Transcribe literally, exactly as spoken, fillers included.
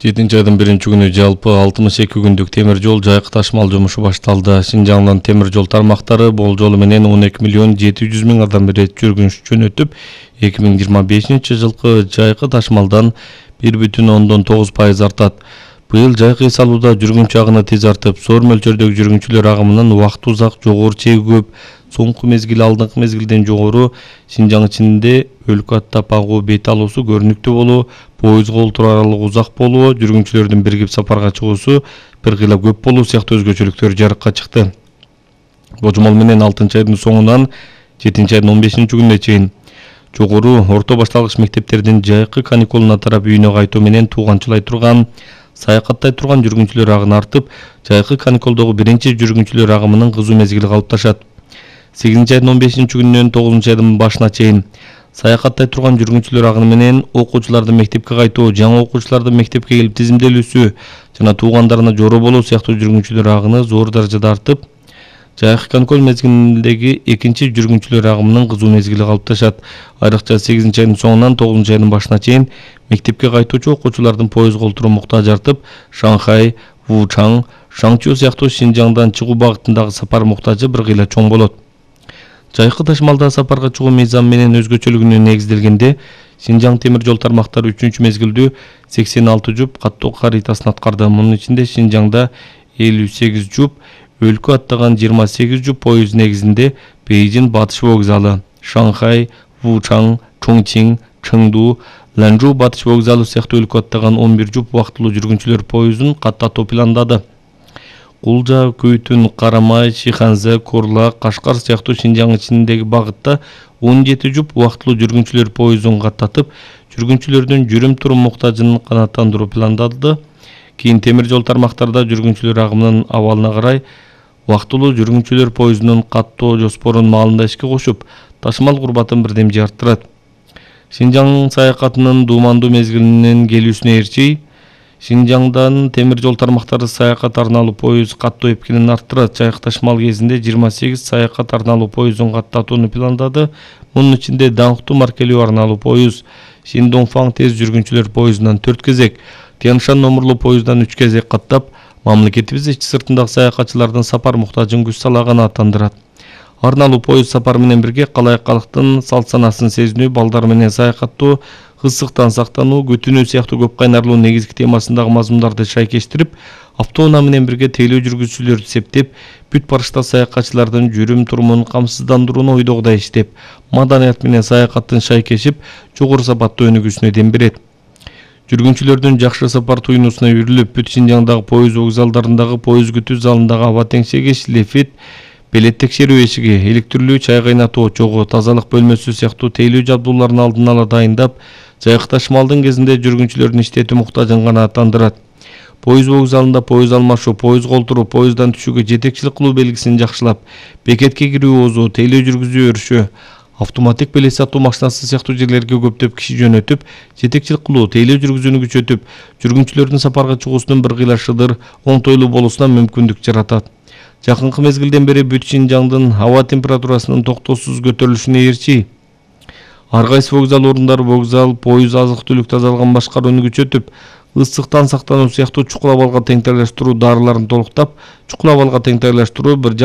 жетинчи айдын биринчи күнү жалпы алтымыш эки күндүк темир жол жайкы ташмал жумушу башталды. Шинжаңдын темир жол тармактары болжолу менен он эки миллион жети жүз миң адам ирет жүргүнүш жөнөтүп, эки миң жыйырма бешинчи жылкы жайкы ташмалдан бир бүтүн ондон тогуз пайыз артат. Быйыл жайкы эс алууда жүргүнчү агыны тез артып, зор мөлчөрдөгү жүргүнчүлөр агымынын убакыты узак, жогору чеги көп. Соңку мезгил алдыңкы мезгилден жогору Шинжаң ичинде өлкө аттап агуу бет алуусу көрүнүктүү болуу, поездго олтуруу аралыгы узак болуу, жүргүнчүлөрдүн биригип сапарга чыгуусу бир кыйла көп болуу сыяктуу өзгөчөлүктөр жарыкка чыкты. Божомол менен алтынчы айдын соңунан жетинчи айдын он бешинчи күнүнө чейин жогору орто башталгыч мектептердин жайкы каникулуна тарап үйүнө кайтуу менен тууганчылай турган, саякаттай турган жүргүнчүлөр агыны артып, жайкы каникулдогу биринчи жүргүнчүлөр агымынын кызуу мезгили калыпташат. сегизинчи айдын он бешинчи күнүнөн тогузунчу айдын башына чейин саякаттай турган жүргүнчүлөр агыны менен окуучулардын мектепке кайтуу, жаңы окуучулардын мектепке келип тизимделүүсү жана туугандарына жороо болуу сыяктуу жүргүнчүлөр агыны зор даражада артып, жайкы каникул мезгилиндеги экинчи жүргүнчүлөр агымынын кызуу мезгили калыпташат. Айрыкча сегизинчи айдын соңунан тогузунчу айдын башына чейин мектепке кайтуучу окуучулардын поездго олтуруу муктаж артып, Шанхай, Вучан, Шаңчжоу сыяктуу Шинжаңдан чыгуу багытындагы сапар муктажы бир кыйла чоң болот. Жайкы ташмалда сапарга чыгуу мыйзам менен өзгөчөлүгүнө негизделгенде, Шинжаң темир жол тармактары үчүнчү мезгилдүү сексен алты жуп каттоо каритасын аткарды. Мунун ичинде Шинжаңда элүү сегиз жуп, өлкө аттаган жыйырма сегиз жуп поезд негизинде Бейжин батыш вокзалы, Шанхай, Вучан, Чоңчиң, Чыңду, Ланчжоу батыш вокзалы сыяктуу өлкө аттаган он бир жуп убактылуу жүргүнчүлөр поездун каттатуу пландады. Кулжа, Көйтүн, Карамай, Шиханзе, Корла, Кашкар сыяктуу Шинжаң ичиндеги багытта он жети жуп убактылуу жүргүнчүлөр поездун каттатып, жүргүнчүлөрдүн жүрүм-турум муктажын канааттандыруу пландалды. Кийин темир жол тармактарда жүргүнчүлөр агымынын абалына карай убактылуу жүргүнчүлөр поездунун каттоо жоспорун маалында ишке кошуп, ташмал курбатын бирдемже арттырат. Шинжаң саякатынын дуумандуу мезгилинин келүүсүнө ээрчи Шинжаңдан темир жол тармактары саякат арналуу поезд каттоо эпкинин арттырат. Жайкы ташмал кезинде жыйырма сегиз саякат арналуу поездун каттатууну пландады. Мунун ичинде даңктуу маркелүү арналуу поезд, Шиндоңфаң тез жүргүнчүлөр поездунан төрт кезек, Тяншан номурлуу поезддан үч кезек каттап, мамлекетибиз ички сыртындагы саякатчылардын сапар муктажын күч сала канааттандырат. Арналуу поезд сапар менен бирге калайык калктын салт санасын сезинүү, балдар менен саякаттоо, ысыктан сактануу, күтүнүү сыяктуу көп кайнарлуу негизги темасындагы мазмундарды шайкештирип, автоунаа менен бирге тейлөө жүргүнчүлөрдү септеп, бүт барышта саякатчылардын жүрүм-турумун камсыздандырууну ойдогудай иштеп, маданият менен саякаттын шайкешип, жогору сапаттуу өнүгүүсүнө дем берет. Жүргүнчүлөрдүн жакшы сапар туюнусуна үйрүлүп, бүт Шинжаңдагы поезд вокзалдарындагы, поезд күтүү залындагы аба теңшегич, лифт, билет текшерүү эшиги, электрлүү чай кайнатуу очогу, тазалык бөлмөсү сыяктуу тейлөө жабдууларын алдын ала дайындап, жайкы ташмалдын кезинде жүргүнчүлөрдүн иштетүү муктажын канааттандырат. Поезд вокзалында поезд алмашуу, поездго олтуруу, поезддан түшүүгө жетекчилик кылуу белгисин жакшылап, бекетке кирүү оозу, тейлөө жүргүзүү өрүшү, автоматтык билет сатуу машинасы сыяктуу жерлерге көптөп киши жөнөтүп, жетекчилик кылуу, тейлөө жүргүзүүнү күчөтүп, жүргүнчүлөрдүн сапарга чыгуусунун бир кыйла шыдыр, оңтойлуу болуусуна мүмкүндүк жаратат. Жакынкы мезгилден бери бүт Шинжаңдын аба температурасынын токтоосуз көтөрүлүшүнө ээрчи ар кайсы вокзал орундары, вокзал, поезд азык-түлүк тазалыгын башкарууну күчөтүп, ысыктан сактануу сыяктуу чукул абалга тең тайлаштыруу дарыларын толуктап, чукул абалга тең тайлаштыруу бир